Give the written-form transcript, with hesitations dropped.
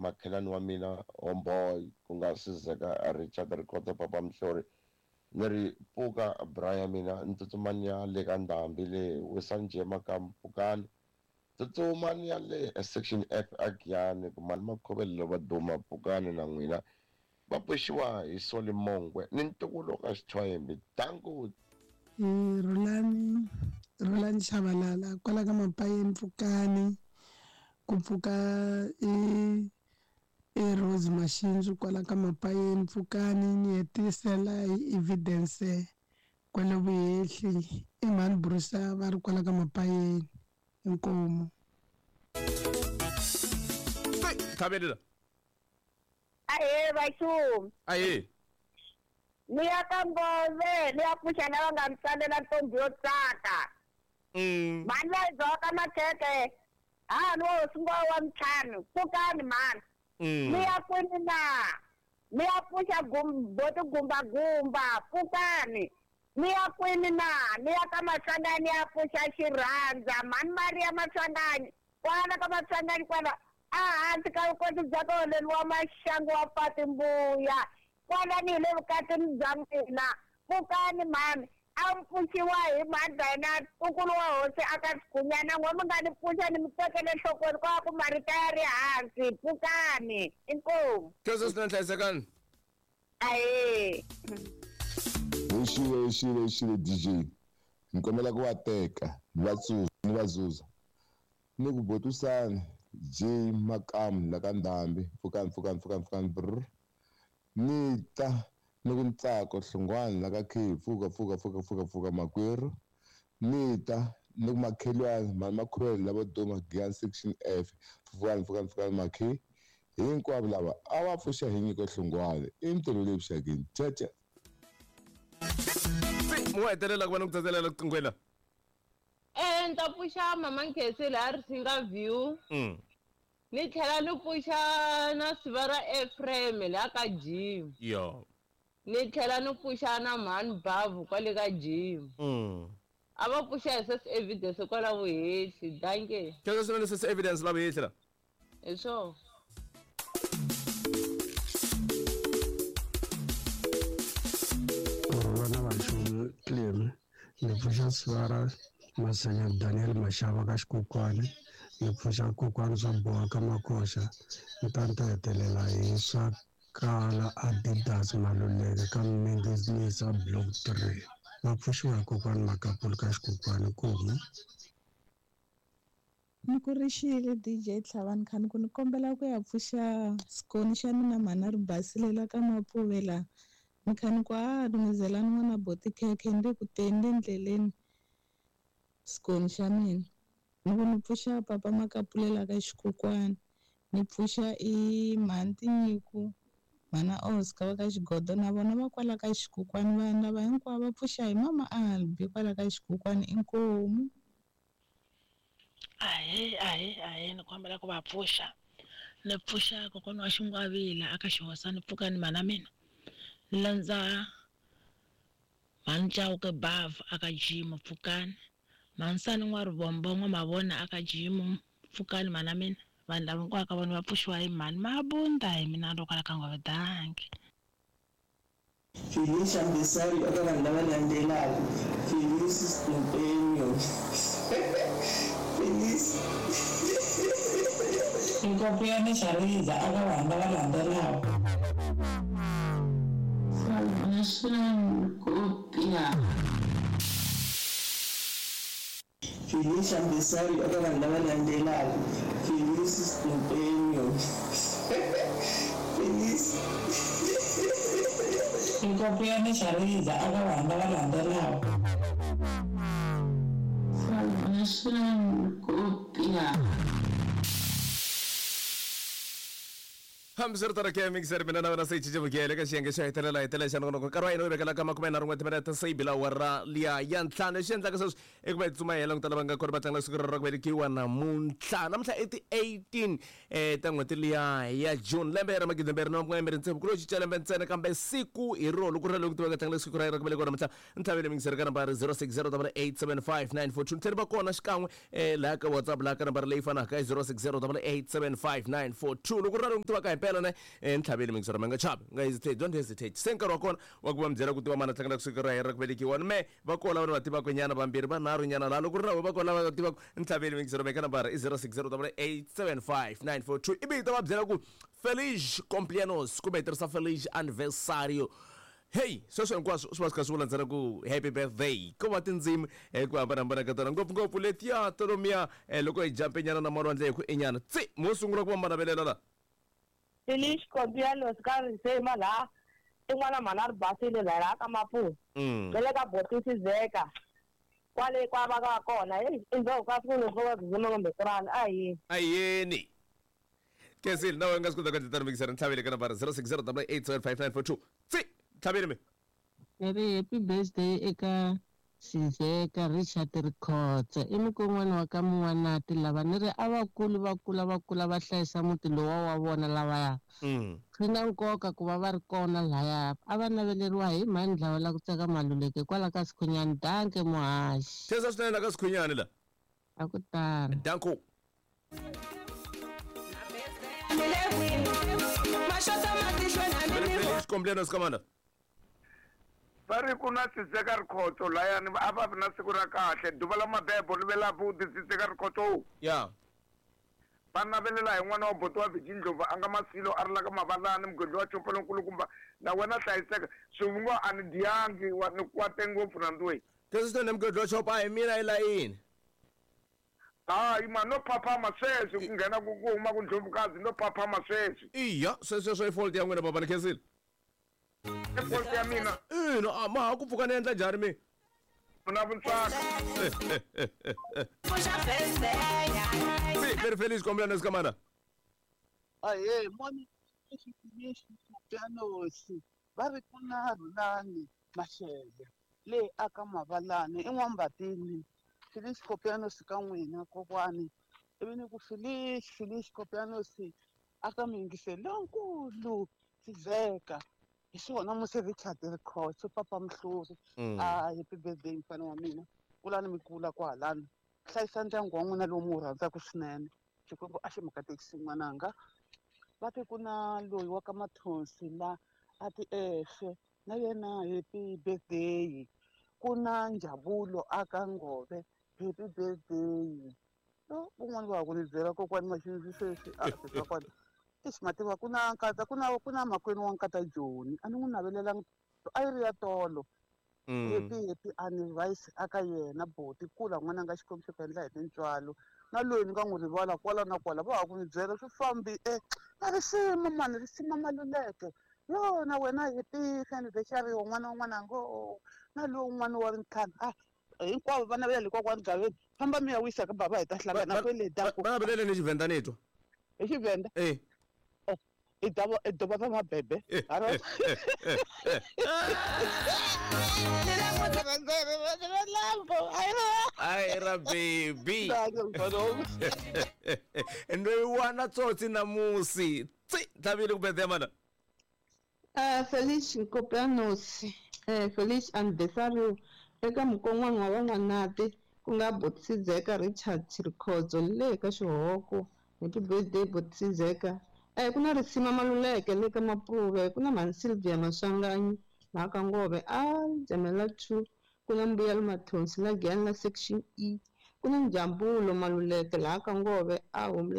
Makhelani wa mina homeboy ku nga Sizeka Richard Rikhotso Papa Mhlori ni ri pfuka bra ya mina ni tsutsuma ni ya le ka ndhambi le wisani njhe makamu pfukani tsutsuma ni ya le section F a Giyani ku mali makhovelo va duma pfukani na n'wina va pfuxiwa hi Solly Mongwe ni ntukulu ka Xithwayembe danko. Rhulani Rhulani Chabalala kwala ka Mapayeni Pfukani ku pfuka i i Rose Mashinzu kwala ka Mapayeni Pfukani ni hetisela hi evidence kwale vuhehli i mhani Brusa va ri kwala ka Mapayeni inkomu. Thabelela. Ahee vaxumi. Ahee. Ni ya ka Ngove ni ya pfuxa lava nga mi tsalela ntombi yo tsaka. Mhani leyi dzawaka makhekhe hahani wa hosi Ngove wa ntlhanu pfukani mhani. Ni ya kwini na? Ni ya pfuxa boti gumbagumba pfukani. Ni ya kwini na? Ni ya ka Maswanganyi ni ya pfuxa xirhandza mhani Maria Maswanganyi kwala ka Maswanganyi kwala a hansi ka vukoti bya ka wa maxangu wa Pati Mbuya kwala ni hi le vukatini bya mina pfukani mhani a mi pfuxiwa hi mhani Dayina ntukulu wa hosi a ka Xigunyana n'we mi nga ni pfuxa ni mi tekele enhlokweni kwa ku marito ya ri hansi pfukani inkomu. Khensa swinene hlayisekani. Ahee. Xile xile xile DJ ni kombela ku va teka ni va tsuza ni va zuza ni ku botusani J Makamu la ka Ndhambi pfukani pfukani pfukani pfukani brr ni ta ni ku Ntsako Hlongwane la ka K pfuka pfuka pfuka pfuka pfuka makwerhu ni ta ni ku makhelwani mhani Makhuvele lava duma Giyani section F pfukani pfukani pfukani makhe hinkwavo lava a va pfuxa hi Nyiko Hlongwane i ntirho leyi vuxakeni caca. Mo hetelela ku va ni ku tsatselela riqingweni la. Ni ta pfuxa mama Nkhensi laha Risinga View. Ni tlhela ni pfuxa na siva ra Ephraim laha ka Jim. Yo. Ni tlhela ni pfuxa na mhani Bavu kwale ka Jim. A va pfuxa hi sis evidence kwala vuhehli. Dankie. Khensa swinene sis evidence la vuhehli la. Hi swona. Vana va Clem ni pfuxa siva ra Masenya Daniel Mashava ka Xikokwani ni pfuxa kokwani swa boha ka Makoxa ni ta ni ta hetelela hi swa kala Adidas Maluleke ka Mningizinisa Block 3 va pfuxiwa hi kokwani Makapulu ka Xikokwani kumu. Ni ku rixile DJ Tlhavani khani ku ni kombela ku ya pfuxa xikoni xa mina mhana ri basilela ka Mapfuvela ni khani ku a lungizelani n'wana boti khekhe ndi ku teni ndleleni xikoni xa mina ni ku ni pfuxa papa Makapulela ka Xikokwani ni pfuxa i mhani Tinyiku mhana Oscar va ka Xigodo na vona va kwala ka Xikokwani vanhu lava hinkwavo va pfuxa hi mama Albi kwala ka Xikokwani inkomu. Ahee ahee ahee ni kombela ku va pfuxa ni pfuxa kokwana wa Xingwavila aka Xihosa ni pfuka ni mana mina ni landza mhani Chauke Bavu aka Jimu pfukani mhanisani n'wa Rivombo n'wa Mavona aka Jimu pfukani mana mina vanhu lava hinkwavo ka vona va pfuxiwa hi mhani Mabunda hi mina ro kwala ka Ngove danki. Felicia Mbisari eka vanhu lava landzelaka Felice Mpenyo Felice Nkopiyani Xariza eka vanhu lava landzelaka Salvation Kopia Felicia Mbisari eka vanhu lava landzelaka Felice Mpenyo Felice Nkopiyani Xariza eka vanhu lava landzelaka Salvation Kopia. Hambiswiritano ke mixer mina na wena se hi cince vukele ka xiyenge xo hetelela hetelela xa nongonoko. Nkarhi wa hina wu vekela ka 31 timinete se yi bila awara liya ya 5. Lexi endlaka sweswi i ku va hi tsutsuma hi ya languta lava nga kona va tlangela siku ra ku velekiwa namuntlha. Namuntlha i ti 18 ta n'hweti liya ya June lembe ra 2026. Ku lo cinca lembe ntsena kambe siku hi rona loko ri ra loyi ku tivaka tlangela siku ra yena ra ku velekiwa namuntlha. Ntlhavelo mixer ka nambara 0608875942. Ni tlhela va kona xikan'we laha ka WhatsApp laha ka nambara leyi fanaka i 0608875942. Loko ri na loyi n'wi tivaka hi mpela ne ntlhaveli mixer mi nga chavi, nga hesitate, don't hesitate. Se nkarhi wa kona wa ku va mi byela ku tiva mani a tlangela siku ra yena ra ku velekiwa ni me va kona lava ni va tivaka nyana vambirhi vanharhu nyana laha. Loko ri na va kona lava va tivaka ntlhaveli mixer mi ka nambara i 0608875942. Ivi hi ta va byela ku Feliz cumpleaños kumbe hi tirhisa Feliz aniversario. Hey, sweswo hinkwaswo swi va swi kha swi vula ntsena ku happy birthday. Ko va tindzimi hi ku hambanahambana ka tona, ngopfungopfu letiya to lomuya loko hi jampe nyana na malwandle hi ku inyana. Tsi, mo sungula ku va manavelela la. Feliz cumpleaños ka risema laha i n'wana mhani a ri basile laha ka Maputo. Na le ka Botisi Zeka kwale kwa va ka kona. Hey, endzhaku ka siku loko va dzima kumbe kurani a yini. A yini. Kesile, na wena nga swi kota ku endla tano mikisera ntlhavele ka nambara 0608875942. Tsi, ntlhavele mi. Ni ri happy birthday eka Sizeka Richard Rikhotso i mukon'wana wa ka Mun'wanati lava ni ri a va kuli va kula va kula va hlayisa muti lowa wa vona lavaya. Swi na nkoka ku va va ri kona lahaya a va naveleriwa hi mhani Dlawa la ku tsaka Maluleke kwala ka Sikhunyani. Danke muhaxi. Khensa swinene la ka Sikhunyani la. A ku tano. Danko. Xikombilenos kamanda. Va ri ku na Sizeka Rikhotso layani a va vi na siku ra kahle duva la mabebo ri ve la buti Sizeka Rikhotso. Ya. Va navelela hi n'wana wa buti wa Viji Ndlovu a nga Masilo a ri la ka Mavalani mugwedli wa Chopa lonkulukumba na wena hlayiseka swivungo a ni dyangi wa ni kwate ngopfu rhandziwe. Kesisitone mugwedli wa Chopa a hi mina i layini. Hayi ma no phaphama sweswi ku nghena ku ku huma ku Ndlovukazi no phaphama sweswi. Iya sweswo i fault ya n'wina baba ni khensile. I fault ya mina. Ina a ma ha ku pfuka ni endla njhani mi? Na vuntswaka. Si very Feliz cumpleaños kamana. Ahee moni pianosi va ri ku na Rhulani Mashele le aka Mavalani i N'wambatini. Feliz cumpleaños ka n'wina kokwani ivi ni ku Feliz Feliz cumpleaños aka muyingiseri lonkulu Sizeka hi swona musi Richard Rikhotso papa Mhluri. A happy birthday mfana wa mina kulani mi kula kwahalani hlayisa ndyangu wa n'wina lowu mi wu rhandzaka swinene Xikwembu a xi mi katekisi n'wananga. Va te ku na loyi wa ka Mathonsi la a ti efe na yena happy birthday. Ku na Njabulo aka Ngove happy birthday. No un'wana wa ku ni byela kokwani Maxinzi sweswi a kokwani exi mativa ku na nkata ku na ku na makwenu wa nkata Joni a ni n'wi navelelanga a yi ri ya tolo. Happy happy anniversary aka yena boti kula n'wananga Xikwembu xi ku endla hi tintswalo na loyi ni nga n'wi rivala kwala na kwala va ha ku ni byela swi fambi na risima mani risima Maluleke yo na wena happy anniversary wa n'wana wa n'wananga na lowu un'wana wa ntlhanu a hinkwavo va navela le kokwani Gaveni famba mi ya wisa ka baba hi ta hlangana kwele va navelele ni Xivenda ni twa hi Xivenda i dova ra mabebe ai ra baby ndo wana tsotsi namusi tsi tlhavile ku birthday mana. Feliz cumpleaños Feliz aniversario eka mukon'wana wa van'wanati ku nga Botisi Zeka Richard Rikhotso le ka Xihoko. Happy birthday Botisi Zeka. Ku na Risima Maluleke le ka Mapuve, ku na Mhani Sylvia Maswanganyi laha ka Ngove a Jamela 2, ku na Mbuyelo Mathonsi la Giyani la Section E, ku na Njambulo Maluleke laha ka Ngove a Home